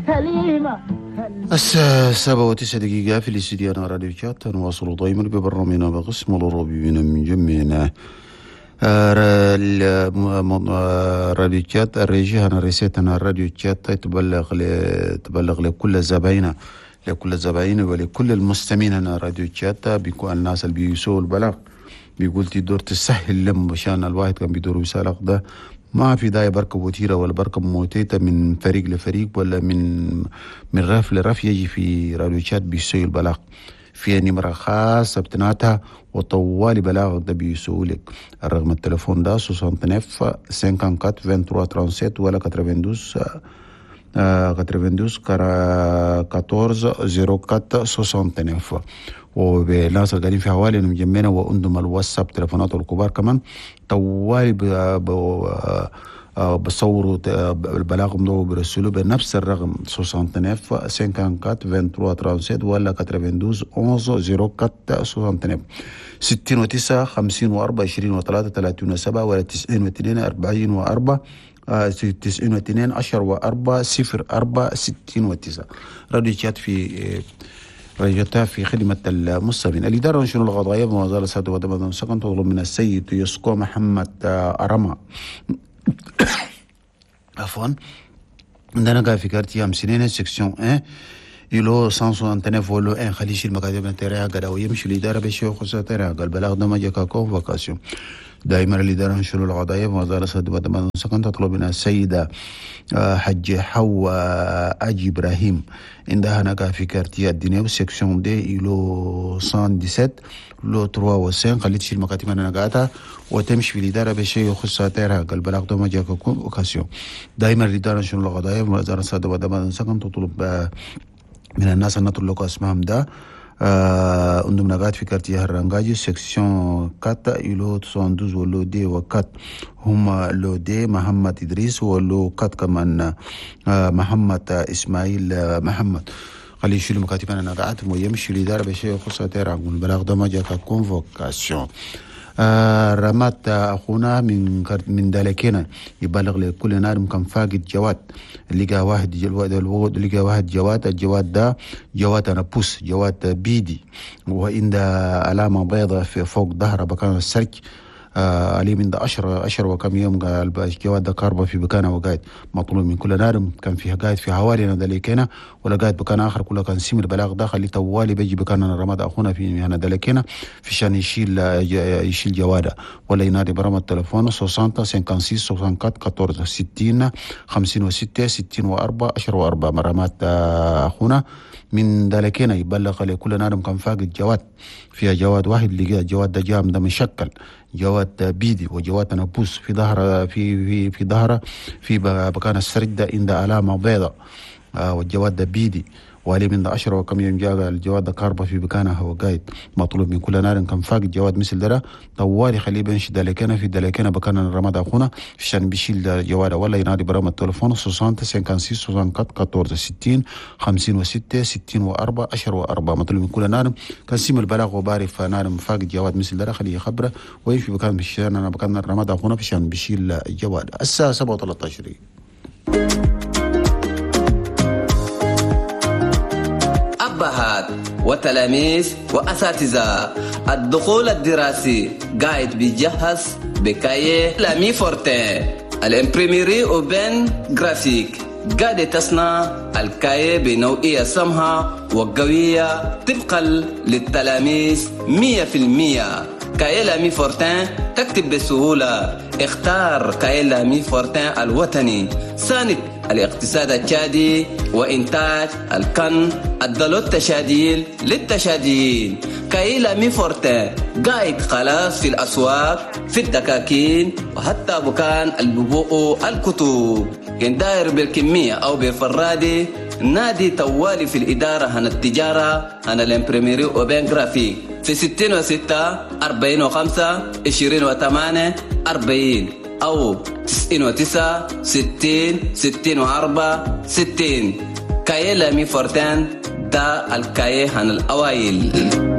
سليمة. الساعة 7:09 في الاستديو راديو تشاد. نواصل دائما ببرنامجنا بقسم الربيبين من جميعنا راديو تشاد. الريجي هنا ريسيتنا راديو تشاد تبلغ لكل زبايننا، لكل الزباين ولكل المستمعين هنا راديو تشاد. بيكون الناس اللي بيسووا البلاغ بيقول تدور تسهل لهم، عشان الواحد كان بيدور ويسالق ده ما في داعي بركب وتيرة ولا بركب موتيتا من فريق لفريق ولا من رف لرف، يجي في راديو تشاد بيسوي البلاغ في نمرة خاصة بتناتها وطوالي بلاغ ده بيسوي لك. الرقم التليفون ده 69 54 23 37 ولا 92 92 14 04 69. وبالناس اللي قاعدين في حوالي مجمعنا وعندهم الواتساب تليفونات الكبار كمان طوالي بصوروا البلاغ ده وبيرسلوه بنفس الرقم 69 54 23 37 ولا 92 11 04 69 69 54 23 37 ولا 92 44 92 10 و4 0 4 69. راديو تشاد في رجعتها في خدمة المستمعين. الإدارة شنو القضائية بموازاة سادة ودبا سكن تطلب من السيد يسكو محمد أرما عفوا عندنا قاعد في quartier أمسنين section 1 îlot 169 lot 1 خلي يشيل مكاتب تريها قد ويمشي الإدارة بشيء خصوصا تريها قال بلاغ ده ما جاك convocation. دائما الإدارة نشر القضايا بموازاة سادة ودبا سكن تطلب من السيدة حج حواء أجي إبراهيم عندها هناك في quartier الدنيا section deux îlot 117 lot 3 و 5 خلي تشيل مكاتب انا قاعدة وتمشي في الإدارة بشيء يخص تيرها قال بلاغ ده ما جاك convocation. دائما الإدارة نشر القضايا بموازاة سادة ودبا سكن تطلب من الناس أن تطلقوا اسمهم ده عندهم نقاط في quartier الرنجاجي section 4 îlot 72 و lot deux و 4 هما lot deux محمد إدريس و lot 4 كمان محمد إسماعيل محمد. خلي يشيلوا مكاتب أنا نقاط ويمشي الإدارة بشيء يخص تيرا البلاغ ده ما جاك convocation. رمات اخونا من دالكينا يبلغ لكل نار كان فاقد جواد لقى واحد لقى واحد جواد، الجواد ده جواد انا بوس جواد بيدي وعند علامه بيضاء في فوق ظهره بكان السرج عليه من ده 10 وكم يوم قال الجواد ده كاربه في بكانه وقايد مطلوب من كل نار كان فيها قايد في حوالي دالكينا ولا قايد بكان اخر كله كان سمر البلاغ ده خلي طوالي بيجي بكان رماد اخونا في هنا دالكينا في شان يشيل جواده ولا ينادي برام التليفون 60 56 64 14 60 56 64 10 و4. مرامات اخونا من دالكينا يبلغ لكل نار كان فاقد جواد فيها جواد واحد لقى جواد ده جام ده مشكل جواد بيدي وجواد نبوس في ظهر في في في ظهره في بكان السرج ده عند علامه بيضاء والجواد ده بيدي وعليه من 10 وكم يوم جاء الجواد ده كاربه في بكانه هو قايد مطلوب من كل نار كان فاقد جواد مثل ده طوالي خليه بنش دالكنا في دالكنا بكان الرماد اخونا عشان بيشيل جواد ولا ينادي برام التليفون 60 56 64 14 60 56 64 10 و4. مطلوب من كل نار كان سيم البلاغ وبارف نار فاقد جواد مثل ده خليه يخبره ويمشي بكان بشان بكان الرماد اخونا عشان بيشيل الجواد. الساعه 7:13. أبهات وتلاميذ وأساتذة، الدخول الدراسي قاعد بيجهز ب cahier L'Ami Fortin ال imprimerie Urbaine Graphique قاعد تصنع ال cahier بنوعية سمحة وقوية طبقا للتلاميذ 100%. cahier L'Ami Fortin تكتب بسهولة. اختار cahier L'Ami Fortin الوطني ساند الاقتصاد التشادي وإنتاج الكن الدلو التشاديل للتشاديين. cahier L'Ami Fortin قاعد خلاص في الأسواق في الدكاكين وحتى بكان الببوء الكتب. كان داير بالكمية أو بالفرادي نادي توالي في الإدارة هنا التجارة هنا ال imprimerie Urbaine Graphique في 66 45 28 40 أو 99 60 64 60. cahier L'Ami Fortin دا ال cahier هن الأوائل.